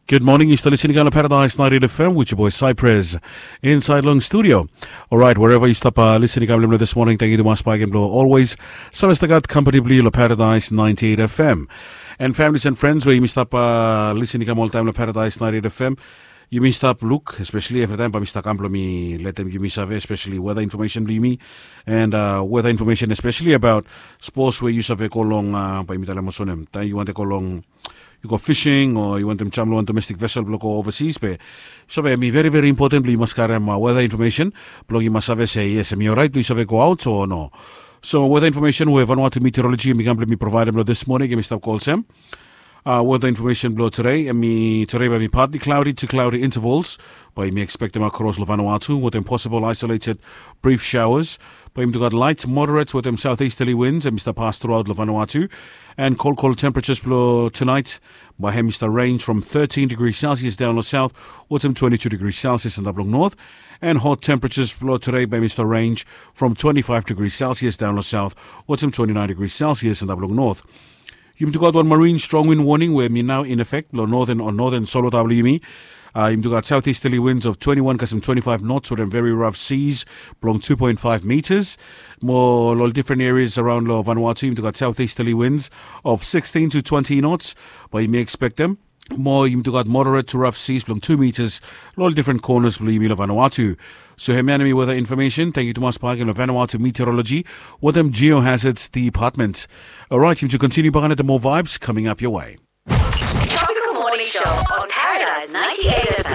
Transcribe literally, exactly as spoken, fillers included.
Good morning, yu stap listening kam long Paradise ninety-eight F M with your boy Cypress inside long studio. Alright, wherever yu stap uh, listening kam long this morning, thank you tumas bagi blong always. Save stap gat company blong yu long Paradise ninety-eight F M. And families and friends, where yumi stap uh, listening kam all time long Paradise ninety-eight F M. Yumi stap look, especially every time, but mi stap kam blong mi let them yumi save, especially weather information blong yumi. And uh, weather information, especially about sports where yu save go long, uh, but yumi tell them also them. Time you want to go long you go fishing o yu wantem jam long wan domestic vessel blong go overseas be save mi very very important blong yu mas karem uh, weather information blong yu mas save se yes em i orait blong yu save go out o no. So weather information we Vanuatu meteorology mi kam blong mi providem long this morning em i stap go olsem. Uh, weather information blong today em i today by mi partly cloudy to cloudy intervals. But mi expectem across long Vanuatu with a possible isolated brief showers. But yumi gat light moderate with them southeasterly winds and Mr. Pass throughout long Vanuatu. And cold cold temperatures blong tonight by him Mr. Range from thirteen degrees Celsius down long south, with some twenty-two degrees Celsius in the blong north. And hot temperatures blong today by Mr. Range from twenty-five degrees Celsius down long south, with some twenty-nine degrees Celsius in the blong north. Yumi took out one marine strong wind warning where mi now in effect lo northern or northern solo W M E. Uh, yumi took out southeasterly winds of twenty-one kasem twenty-five knots with them very rough seas blong two point five meters. More lo different areas around lo Vanuatu, yumi took out southeasterly winds of sixteen to twenty knots, but you may expect them. More yumi took out moderate to rough seas blong two meters lo different corners blong yumi lo Vanuatu. So hemi weather information. Thank you tumas bagi lo Vanuatu Meteorology with them Geohazards Department. Alright, yumi to continue bagi the more vibes coming up your way. Tropical Morning Show on Paradise ninety-eight F M.